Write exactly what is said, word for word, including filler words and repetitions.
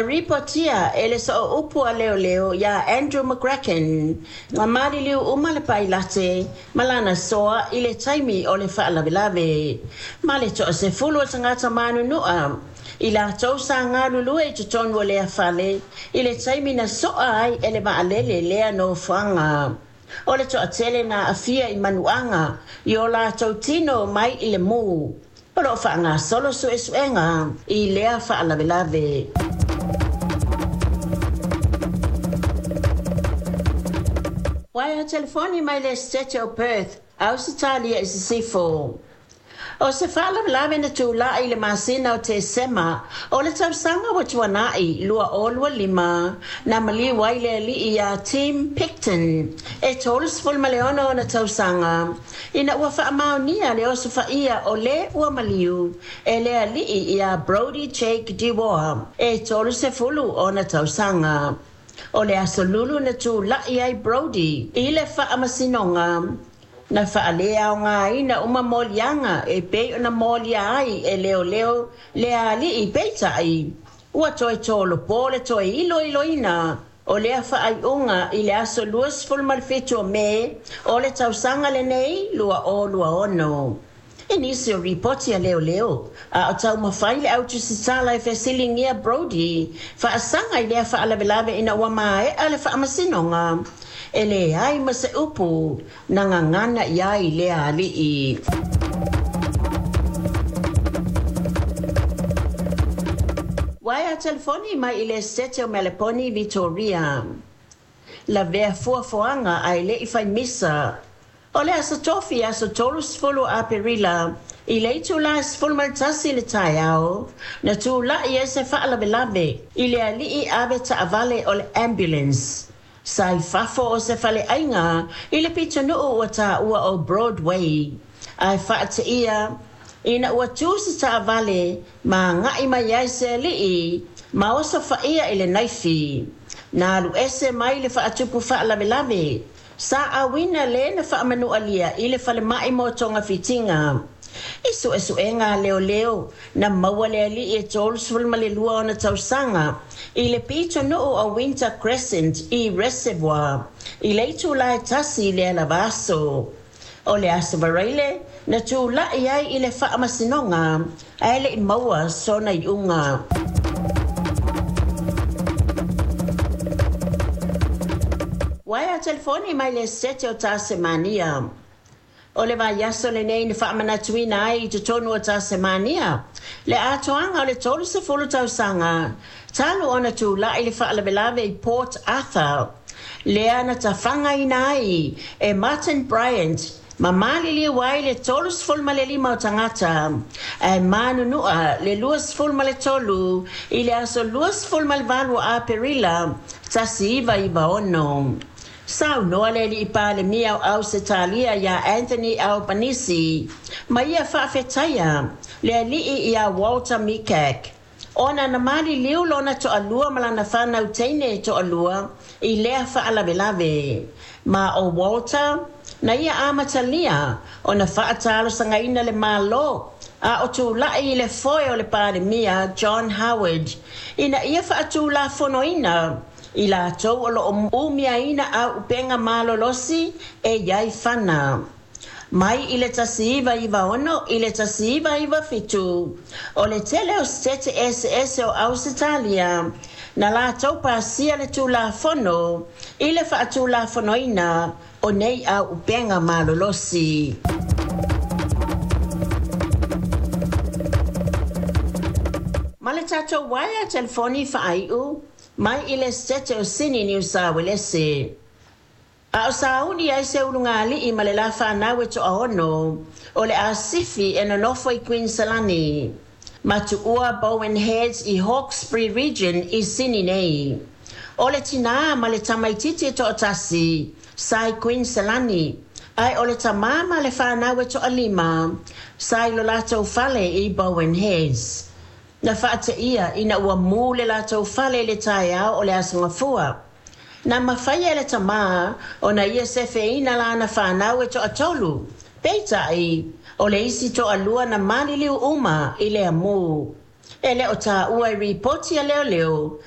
Ripotia e le sooupu a leoleo iā Andrew McCracken na maliliu uma le pailate ma lana soa i le taimi o le faalavelave. Ma le toasefulu o tagata manunua i latou sa galulue i totonu o lea fale i le taimi na soa ai e le vaalele lea nofoaga. O le toatele na aafia i manuaga i o latou tino mai i le mu. O lo o faagasolo suesuega i lea faalavelave. Waea telefoni mai le Setete o Perth, Ausetalia i Sisifo. O se faalavelave na tulai i le masina o Tesema o le tausaga ua tuanai lua o lua lima na maliu ai le alii iā Tim Picton e tolu ma le ono ona tausaga ina ua faamaonia le osofaia o le ua maliu e le alii iā Brody Jake Dewar e tolu ona tausaga. O le aso Lulu na tulai ai Brody i le faamasinoga na faaleaogaina uma moliaga e pei ona molia ai e leoleo le alii, peitai ua toe tolopo le toe iloiloina o lea faaiuga i le aso luasefulu ma le fitu o Me o le tausaga lenei lua o lua ono. I nisi o ripoti a leoleo, a o taumafai le au tusitala e fesiligia Brody faasaga i lea faalavelave ina ua maea le faamasinoga, e leai ma se upu na gagana i ai lea alii. Waea telefoni mai i le Setete o Meleponi, Victoria. Lavea fuafuaga ae le i fai misa. O le aso Tofi, aso tolusefulu Aperila, i le itula e sefulu ma le tasi le taeao, na tulai ai se faalavelave i le alii ave taavale o le ambulance sa i fafo o se faleaiga i le pitonuu ua taua o Broadway, ae faateia ina ua tu se taavale ma agai mai ai se alii ma osofaia i le naifi. Na alu ese mai le faatupu faalavelave. Sa auina le na faamanualia i le falemai mo togafitiga. I suesuega a leoleo, na maua le alii e tolusefulu ma le lua ona tausaga i le pitonuu o Winter Crescent i Reservoir i le itula e tasi i le lava aso. O le aso Varaile na tulai ai i le faamasinoga ae le i maua sona iuga. Waea telefoni mai le Setete o Tasemania. O le vaiaso lenei na faamanatuina ai i totonu o Tasemania le atoaga o le tolusefulu tausaga talu ona tulai le faalavelave i Port Arthur, lea na tafagaina ai e Martin Bryant ma maliliu ai le tolusefulu ma le lima o tagata ae manunua le luasefulu ma le tolu i le aso luasefulu ma le valu o Aperila tasi iva iva ono. Saunoa le alii Palemia o Ausetalia iā Anthony Albanese ma ia faafetaia le alii iā Walter Mikak ona na maliliu lona toalua ma lana fanau teine toalua i lea faalavelave. Ma o Walter na ia amatalia ona faatalosagaina le Malo a o tulai i le foe o le Palemia John Howard ina ia faatulafonoina i latou o lo o umiaina auupega malolosi e iai fana. Mai i le tasi iva iva ono i le tasi iva iva fitu, o le tele o setete eseese o Ausetalia na latou pasia le tulafono i le faatulafonoina o nei auupega malolosi. Ma le tatou waea telefoni faaiu mai i le Setete o Sini, Niu Sa Uelese. A o sauni ai se ulugalii ma le la fanau e toaono o le asifi e nonofo i Queensland ma tuua Bowen Heads i Hawkesbury Region i Sini nei. O le tinā ma le tamaititi e toatasi sa i Queensland, ae o le tamā ma le fanau e toalima sa i lo latou fale i Bowen Heads. Na faateia ina ua mu le latou fale i le taeao o le aso Gafua. Na mafai e le tamā ona ia sefeina lana fanau e toatolu. Peitai, o le isi toalua na maliliu uma i le amu. E le o taua i ripoti a leoleo.